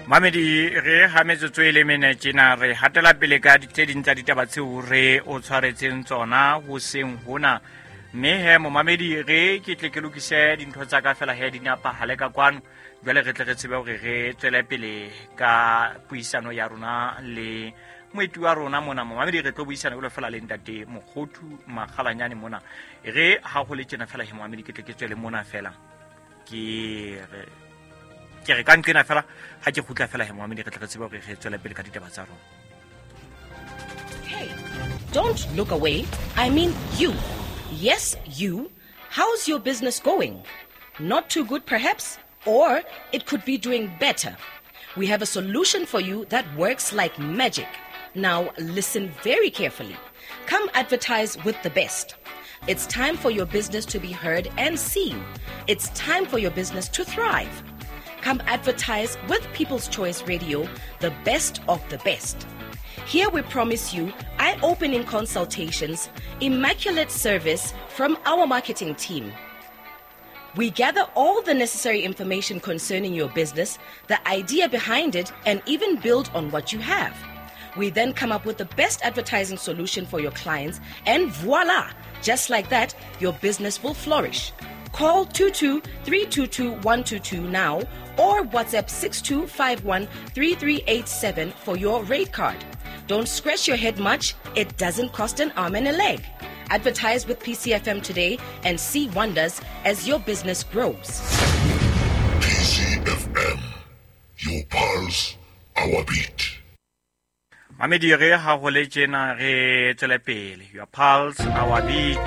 Mamedi, re ha metsotso e le mene tjena, re hatela pele ka tse ding tsa ditaba tseo re o tshwaretseng tsona hoseng hona. Mme he momamedi, re ke tle ke lokise dintho tsa ka fela he di napahale ka kwano. Jwale re tle re tsebe hore re tswele pele ka puisano ya rona le moeti wa rona mona. Momamedi, re tlo buisana jwalo fela le ntate Mokgothu Makgalanyane mona. Re ha ho le tjena fela he momamedi, ke tle ke tswele mona fela. Ke re ka nqena fela ha ke kgutla fela he momamedi, re tle re tsebe hore re tswele pele ka ditaba tsa rona. Hey, don't look away. I mean you. Yes, you. How's your business going? Not too good, perhaps? Or it could be doing better. We have a solution for you that works like magic. Now, listen very carefully. Come advertise with the best. It's time for your business to be heard and seen. It's time for your business to thrive. Come advertise with People's Choice Radio, the best of the best. Here we promise you eye-opening consultations, immaculate service from our marketing team. We gather all the necessary information concerning your business, the idea behind it, and even build on what you have. We then come up with the best advertising solution for your clients, and voila! Just like that, your business will flourish. Call 22-322-122 now or WhatsApp 6251-3387 for your rate card. Don't scratch your head much. It doesn't cost an arm and a leg. Advertise with PCFM today and see wonders as your business grows. PCFM, your pulse, our beat. Mamedi, re ha ho le tjena re tswele pele. Your pulse, our beat.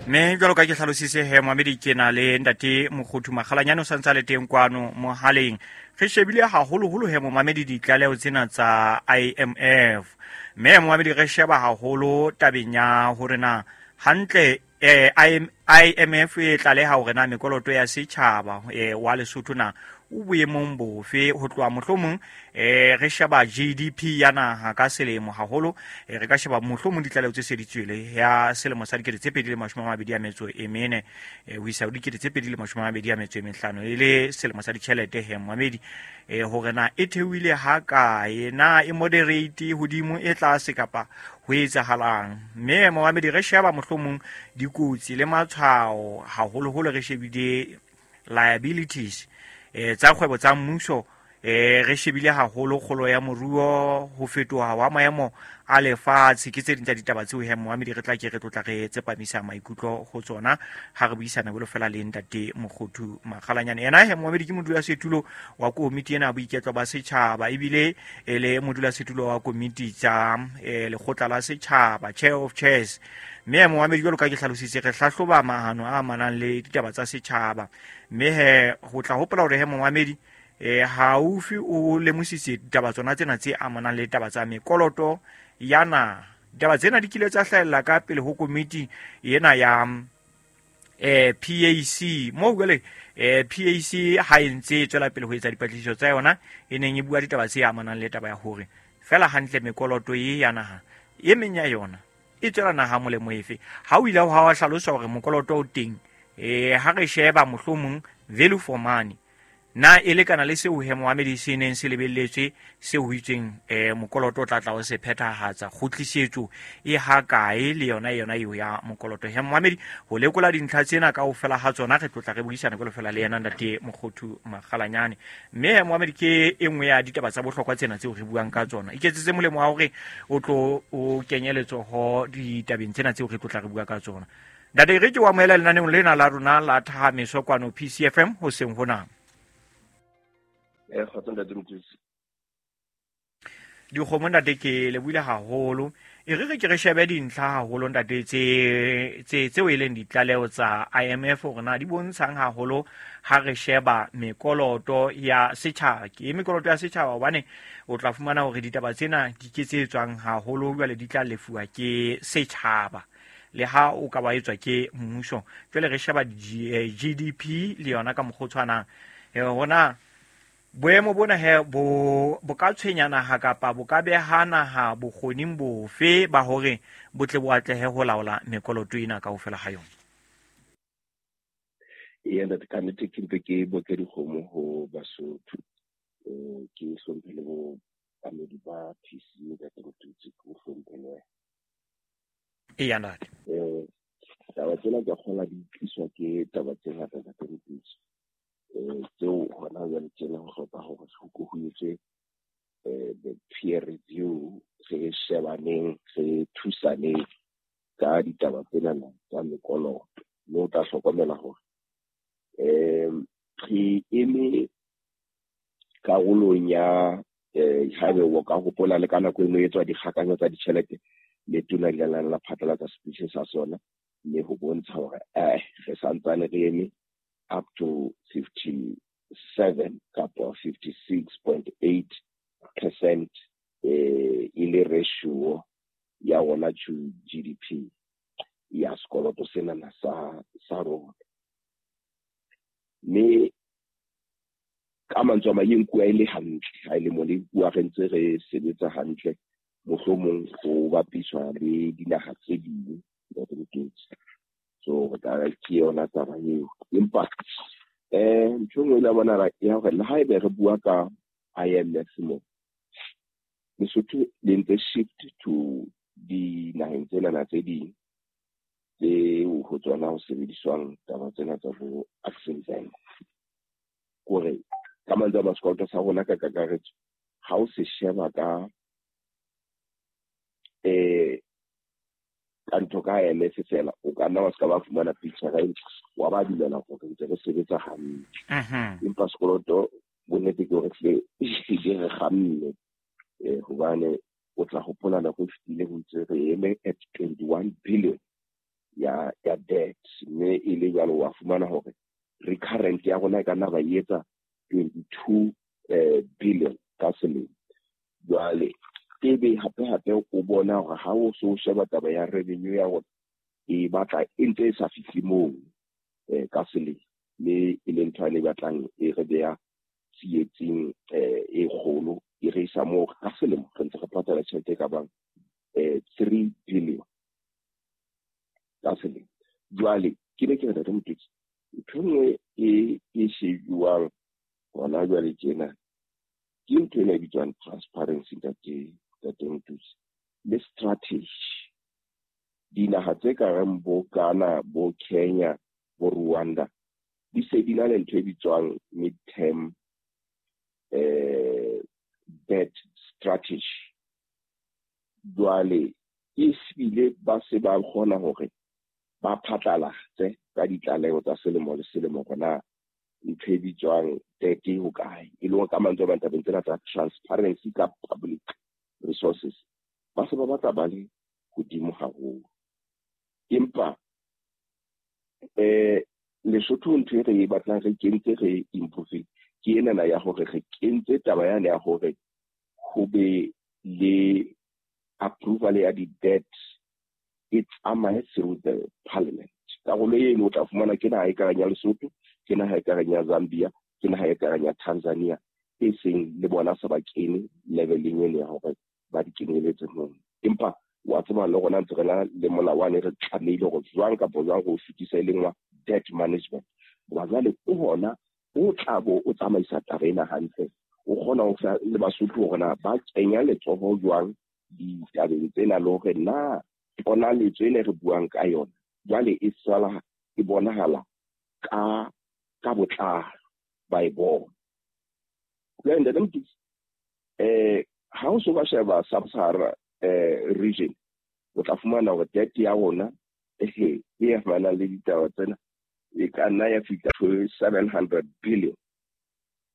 Mme jwalo ka ke hlalositse he momamedi, ke na le ntate Mokgothu Makgalanyane o santse a le teng kwano mohaleng. Re shebile haholoholo he momamedi ditlaleho tsena tsa IMF. Mme momamedi, re sheba haholo tabeng ya hore na hantle IMF e tlaleha hore na mekoloto ya setjhaba wa Lesotho na o boemong bofe ho tloha mohlomong re sheba GDP ya naha ka selemo haholo, re ka sheba mohlomong ditlaleho tse se di tswele ya selemo sa 2024 ho isa ho 2025 e le selemo sa ditjhelete he momamedi, hore na e theohile ha kae, na e moderate hodimo e tlase kapa ho etsahalang. Mme momamedi, re sheba mohlomong dikotsi le matshwao haholoholo, re shebile liabilities tsa kgwebo tsa mmuso, re shebile haholo kgolo ya moruo, ho fetoha wa maemo a lefatshe. Ke tse ding tsa ditaba tseo he momamedi re tla ke re tlotla re tsepamisa maikutlo ho tsona ha re buisana jwalo fela le ntate Mokgothu Makgalanyane. Yena he momamedi ke modulasetulo wa komiti ena ya boiketlo ba setjhaba, ebile e le modulasetulo wa komiti tsa lekgotla la setjhaba, chair of chairs. Mme momamedi, jwalo ka ke hlalositse, re hlahloba mahano a amanang le ditaba tsa setjhaba. Mme he ho tla hopola hore he momamedi haufi o lemositse ditaba tsona tsena tse amanang le taba tsa mekoloto ya naha. Ditaba tsena di kile tsa hlahella ka pele ho komiti ena ya PAC. Moo jwale PAC ha e ntse e tswela pele ho etsa dipatlisiso tsa yona, e neng e bua ditaba tse amanang le taba ya hore fela hantle mekoloto e ya naha e meng ya yona e tswela naha molemo efe. Ha o ile ha wa hlalosa hore mokoloto o teng, ha re sheba mohlomong value for money na e lekana le seo he momamedi se neng se lebelletswe, seo ho itsweng mokoloto o tla tla o se phethahatsa, kgutlisetso e ha kae le yona yona eo ya mokoloto. He momamedi, ho lekola dintlha tsena kaofela ha tsona re tlotla re buisana jwalo fela le yena ntate Mokgothu Makgalanyane. Mme he momamedi, ke e nngwe ya ditaba tsa bohlokwa tsena tseo re buang ka tsona. Iketsetse molemo wa hore o tlo o kenye letsoho ditabeng tsena tseo re tlotla re bua ka tsona. Ntate, re ke o amohela lenaneong lena la rona la Thahameso kwano PCFM hoseng hona. Kgotso ntate Mothusi. Dikgomo ntate, ke lebohile haholo. E re re ke re shebe dintlha haholo ntate tse tseo e leng ditlaleho tsa IMF hore na di bontshang haholo ha re sheba mekoloto ya setjhaba. Ke mekoloto ya setjhaba hobane o tla fumana hore ditaba tsena di ke tse tswang haholo jwale di tla lefuwa ke setjhaba le ha o ka ba etswa ke mmuso. Jwale re sheba GDP le yona ka mokgwa o tshwanang. Hona boemo bona he bo ka tshwenya naha kapa bo ka beha naha bokgoning bofe ba hore bo tle bo atlehe ho laola mekoloto ena kaofela ha yona? Ee, ntate, ka nnete ke mpe ke boke dikgomo ho Basotho. Ke Ke hlomphe le bo bamedi ba PC ntate Motutsi, ke o hlomphe le wena. Eya ntate. Taba tsena ke kgola di tliswa ke taba tse ngata ntate Motutsi. Tseo hona jwale tjena ho hloka hore ho ko ho etswe the peer review, re shebaneng, re thusaneng ka ditaba tsenana tsa mekoloto. Mme o tla hlokomela hore re eme karolong ya haebe o ka hopola le ka nako eno e etswa dikgakanyo tsa ditjhelete, letona le la la phatlalatsa speech sa sona, mme ho bontsha hore re santsane re eme up to 57 kapa 56.8% e le ratio ya rona to GDP ya sekoloto senana sa rona. Mme ka mantswe a mang e nkuwa e le hantle, ha e le mo le nkuwa re ntse re sebetsa hantle, mohlomong ho bapiswa le dinaha tse ding. So re ka re ke yona taba eo. Empa ntho e nngwe le bona ya hore le haebe re bua ka IMF mo, Lesotho le ntse shift to dinaheng tsenana tse ding tseo ho tsona ho sebediswang taba tsena tsa bo Exim Bank. Kore ka mantswe a mang sekoloto sa rona ka kakaretso ha o se sheba ka ka ntho ka IMF fela, o ka nna wa se ka ba fumana picture e ntle, wa ba dumela hore ntse re sebetsa hantle. Empa sekoloto bonnete ke hore hlile di re kgamme, hobane o tla hopola nako e fetileng ho ntse re eme at 21 billion ya debt, mme e le jwalo wa fumana hore recurrent ya rona e ka nna ba e etsa 22 billion ka selemo. Jwale ebe hape hape o bona hore ha o so sheba taba ya revenue ya rona e batla e ntse e sa fihle moo ka selemo, mme e le ntho e batlang e re beha tsietsing e kgolo, e re isa moo ka selemo re ntse re patala tjhelete e ka bang 3 billion ka selemo. Jwale ke ne ke re Ntate Motutsi, ntho e nngwe e shebuwang hona jwale tjena ke ntho ena e bitswang transparency, Ntate Motutsi, le strategy. Dinaha tse ka reng bo Ghana, bo Kenya, bo Rwanda di se di na le ntho e bitswang mid-term debt strategy. Jwale e bile ba se ba kgona hore ba phatlalatse ka ditlaleho tsa selemo le selemo hore na ntho e bitswang debt e hokae, e leng ka mantswe a mang tabeng tsena tsa transparency ka public resources ba se ba batla ba le hodimo haholo. Empa Lesotho ntho e re e batlang re kentse re improve ke enana ya hore re kentse taba yane ya hore ho be le approval ya di-debt e tsamaye through the parliament. Karolo eno o tla fumana ke naha e kareng ya Lesotho, ke naha e kareng ya Zambia, ke naha e kareng ya Tanzania, e seng le bona se ba kene leveleng eno ya hore ba di kenyeletse moo. Empa wa tseba le rona ntse re na le molao wane re tlamehile hore jwang kapa jwang re o fetisa e leng wa debt management. Hoba jwale o hona o tla bo o tsamaisa taba ena hantle, o kgona ho fa le Basotho hore na ba kenya letsoho jwang ditabeng tsena, le hore na ponaletso ena re buang ka yona jwale e sala e bonahala ka botlalo ba e bona. Jwale Ntate Motutsi, ha o so ka sheba Sub-Sahara region, o tla fumana hore debt ya rona e amanang le ditaba tsena e ka nna ya fihla to 700 billion.